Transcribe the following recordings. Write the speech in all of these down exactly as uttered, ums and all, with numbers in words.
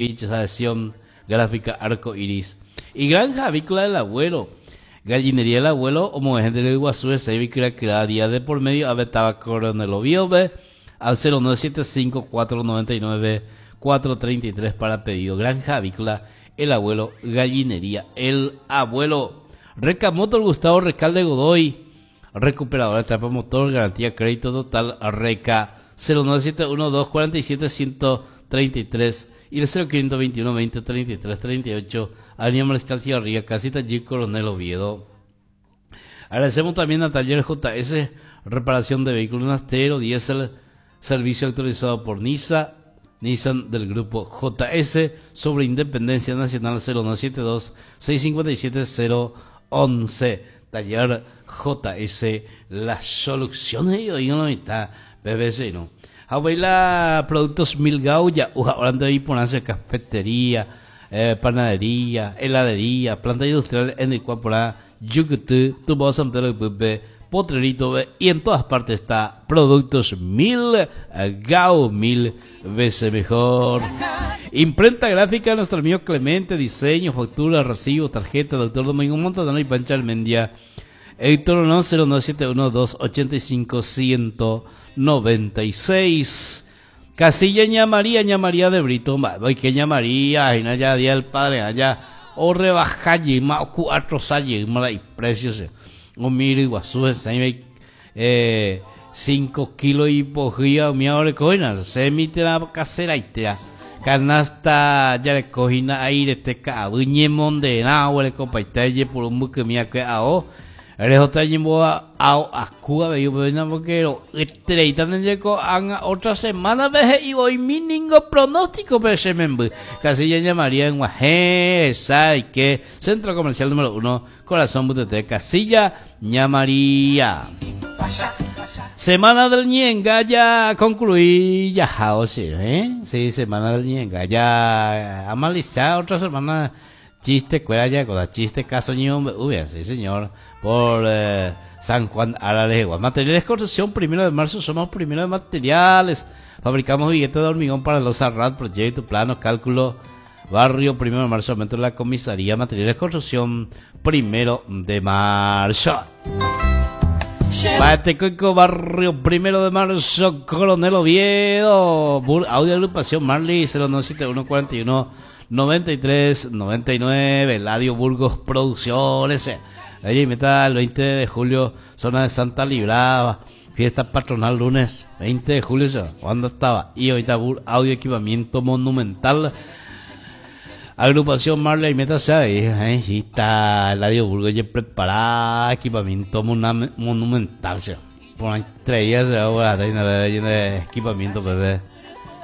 Adhesión gráfica Arco Iris. Y Granja Avícola del Abuelo. Gallinería del Abuelo, o gente de Iguazú, ese cada día de por medio, Abetaba Coronel Oviedo, al cero nueve siete cinco cuatro noventa y nueve cuatro treinta y tres para pedido. Granja Avícola El Abuelo, Gallinería El Abuelo. Recamotor Gustavo Recalde Godoy, recuperadora de trampa motor, garantía crédito total, Reca, cero nueve siete uno dos cuarenta y siete ciento treinta y tres y el cero quinientos veintiuno veinte treinta y tres treinta y ocho, Avenida Mariscal Cigarría, Casita G, Coronel Oviedo. Agradecemos también a Taller J S, reparación de vehículos naftero, diésel, servicio autorizado por Nisa, Nissan del grupo J S, sobre Independencia Nacional cero nueve siete dos, seis cincuenta y siete cero once. Taller J S, la solución de hoy en la mitad, B B C, ¿no? Abuela, productos Milgau, ya, uja, ahora ando ahí por hacer cafetería, eh, panadería, heladería, planta industrial en el cual por ahí, Yucatán, Tubo San Pedro de Pupe, Potrerito, y en todas partes está Productos Milgau, mil veces mejor. Imprenta gráfica, nuestro amigo Clemente, diseño, factura, recibo, tarjeta, doctor Domingo Montanaro y Pancha Almendia. Héctor no, cero nueve siete uno dos ochenta y cinco ciento noventa y seis. Casilla Ña María, Ña María de Brito, ma, voy que Ña María, ay, no, ya día del padre, allá, o rebaja, ma, o cuatro salle, ma, y precios, eh. O miro Iguazú, se eh, cinco kilos y pojía, mi ahora coina, se emite la casera y te da. Canasta, ya le cogina aire, te ca, uñemón de na, huele copa y te por un buque mía que ao. Eres otra yimbo a, a Cuba, ve, yo, pero no, porque lo, este, y también llegó a otra semana, ve, y voy mi ningo pronóstico, pero se me embu. Casi ya llamaría en Guajé, ¿sabes qué? Centro Comercial número uno, Corazón Butete, Casilla, Ñamaría. Semana del Ñenga ya concluí, ya, o sí, ¿eh? Sí, Semana del Ñenga, ya, amalizada otra semana. Chiste, cuera ya, con la chiste, caso ño, uy, sí señor, por, eh, San Juan Aralegua. Materiales de construcción, primero de marzo, somos primero de materiales. Fabricamos billetes de hormigón para los Arrat, proyecto, plano, cálculo, barrio, primero de marzo, aumento de la comisaría, materiales de construcción, primero de marzo. Batecoico, barrio, primero de marzo, Coronel Oviedo, Bur, audio agrupación Marley, cero nueve siete uno cuarenta y uno noventa y tres noventa y nueve, Eladio Burgos Producciones. Allí está el veinte de julio, zona de Santa Librada, fiesta patronal lunes veinte de julio, ¿sí? ¿Cuándo estaba? Y ahorita Bur, audio equipamiento monumental, agrupación Marley, métase ahí, ¿eh? Sí está Eladio Burgos ya preparada, equipamiento monam-, monumental, ¿sí? Por ahí traía, ¿sí? Ahora está lleno de equipamiento, bebé.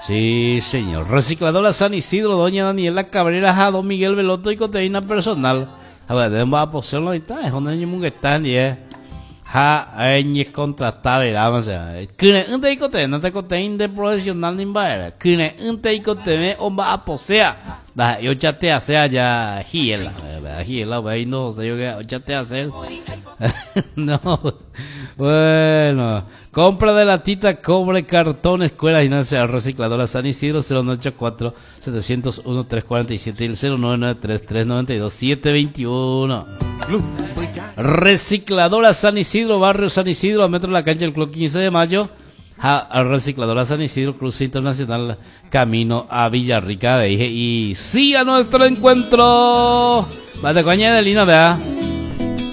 Sí, señor. Recicladora San Isidro, doña Daniela Cabrera, a don Miguel Veloto y coteína personal. A ver, debemos a poseerlo ahí está, es donde hay un que está, ni es. Ja, hay contratar, ¿verdad? O sea, que un te cote, no te coteín de profesional ni va, que un te cote, o va a poseer. Da, yo ya te hace allá, giela, ¿verdad? Giela, güey, no sé yo qué, ya te hace. No, bueno, compra de latita, cobre, cartón, escuela, gimnasia, recicladora San Isidro, cero nueve ocho cuatro, setecientos uno, tres cuarenta y siete y el cero nueve nueve tres, tres noventa y dos, siete veintiuno. Recicladora San Isidro, barrio San Isidro, a metro de la cancha del Club quince de Mayo. Ja, a Recicladora San Isidro, Cruce Internacional, camino a Villarrica, dije, y sí a nuestro encuentro. Vale, coña de Lina, vea.